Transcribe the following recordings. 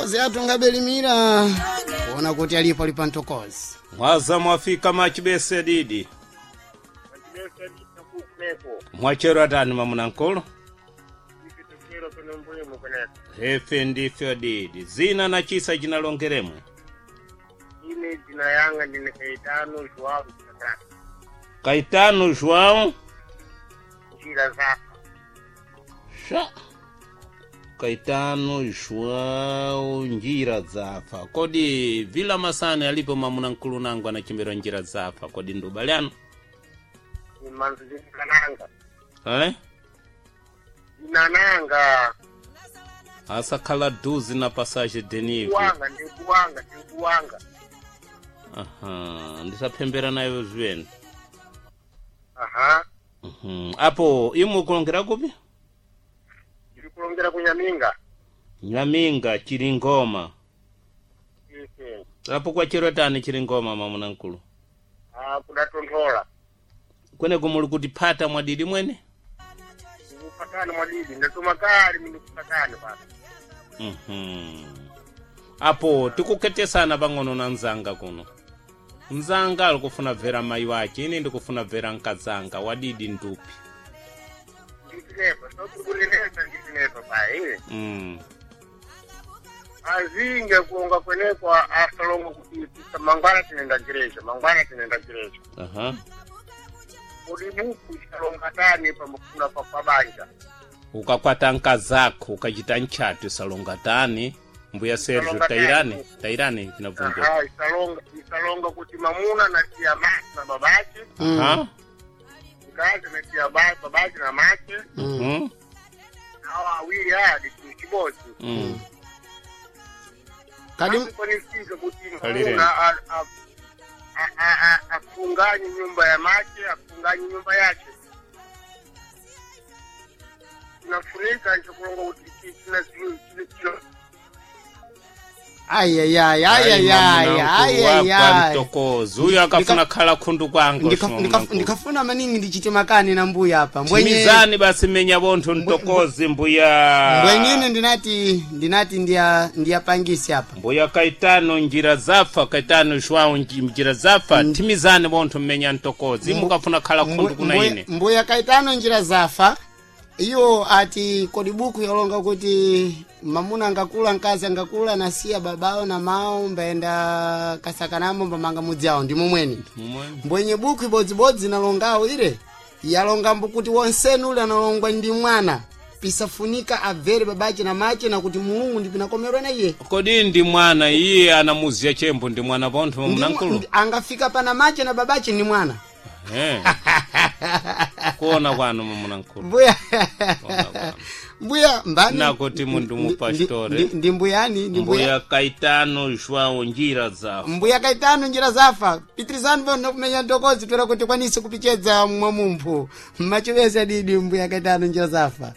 Ntokozi athu ngabelimira kuona kuti alipo ali pa ntokozi. Mwaza mwafika machibese didi. Mwachero atani mamunankulu? Hefe ndifyo didi. Zina na chisa chinalongeremwe. Ine jina yanga ndine Kaitano Joao Chakata. Kaitano João Njira zafa. Sha. Kaitano João njira zafa. Kodi vila masane alipo mamunankulu nangu anachimbira njira zafa. Kodi ndubaliano? Imanzu zinananga. Ale? Zinananga. Asakhala duzi na passage denive. Kuwanga ndikuwanga ndikuwanga. Aha, ndisaphembera nayo zweni. Aha. Mhm. Apo imwe kulongera kupi? Ndiri kulongera kunyaminga. Nyaminga Chilingoma. Ise. Apo kwachero tani Chilingoma mamunankulu. Ah, kudatontola. Kweneko muli kuti phata mwadidi mwene? Ndikupatana mwadidi ndatuma kali mindikupatana pano. Mhm. Apo tikukhetesana pang'ono na mzanga kuno. Mzanga ali kufuna bvera mayi wake, ine ndikufuna bvera mkazanga wadidi ndupi. Nditinepa, sokukunenesa nditinepa payi. Azinge kuonga kweneko asalongo kuti mangwana tinenda gereja, mangwana tinenda gereja. Aha. Kodi buku isalonga tani pamukula pa pabanja. Ukakwata nkazako ukachita ntchatu isalonga tani. Mbuya Sergio Isalonga tani. tairani, tairani tinabvunja. Aha, isalonga isalonga kuti mamuna nasiya masi na babake, Aha. mkazi nasiya babake na make, Mhm. hawa awili adi chibodzi. Kadi Kwanifika kuti Kalireni. mamuna afunganye nyumba ya make, afunganye nyumba yake. Chinafunika nchokulonga kuti china chino ayayay ayayay ayayay. mtokozi uyo akafuna khala khundu kwangu Ndikafuna maningi ndichite makani na mbuya apa. Mbwenye timizani basi menya bontho mtokozi mbuya mbwenyine ndinati ndiya ndiyapangisi apa. mbuya Kaitano njira zafa Kaitano João njira zafa timizani bontho mmenya mtokozi imukafuna khala khundu kuna ine Mbuya Kaitano njira zafa iyo ati kodi buku yalonga kuti mamuna angakula mkazi angakula nasiya babawo na mawo mbaenda kasakanamo mbamanga mudzi awo ndi momweni mbwenye buku ibodzibodzi nalongawo ile yalongambo kuti wonsenu ule analongwa ndi mwana pisafunika abvere babache na mache na kuti mulungu ndipinakomerwa na iye kodi ndi mwana iye anamuziya chembo ndi mwana bontho mamunankulu Angafika pana mache na babache ndi mwana. Eh. kuona kwanu mamunankulu Mbuya Kuona kwanu. mbuya mbani Nakoti mundu mupastore. ndi mbuyani ndi mbuya mbuya Kaitano João njira zafa mbuya Kaitano njira zafa pitirizani bono kumenya ntokozi toera kuti kwanise kupichedza mwa mumphu mmachivesa didi mbuya Kaitano njira zafa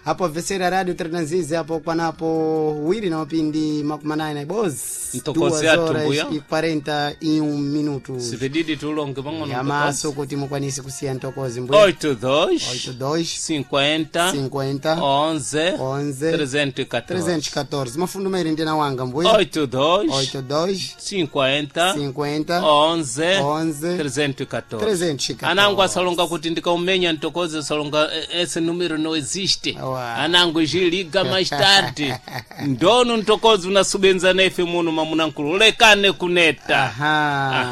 apo vesera radio trenazizi apo kwanapo wiri na mapindi 89 na ibozi Ntokozi athu, mbuya. 41 minutos sipididi tulonge pang'ono yamaso kuti mukwanise kusiya ntokozi mbuya 8 2 82 50 50 11 11 314 314 mafundo mairi ndina wanga mbuya 8 2 82 50 50 11 11 314 314. anangu asalonga kuti ndikaumenya ntokozi asalonga ese numero no existe Wa. anangu jiliga mais tarde ndono ntokozi unasubenza nefe muno mamunankulu lekane kuneta Aha.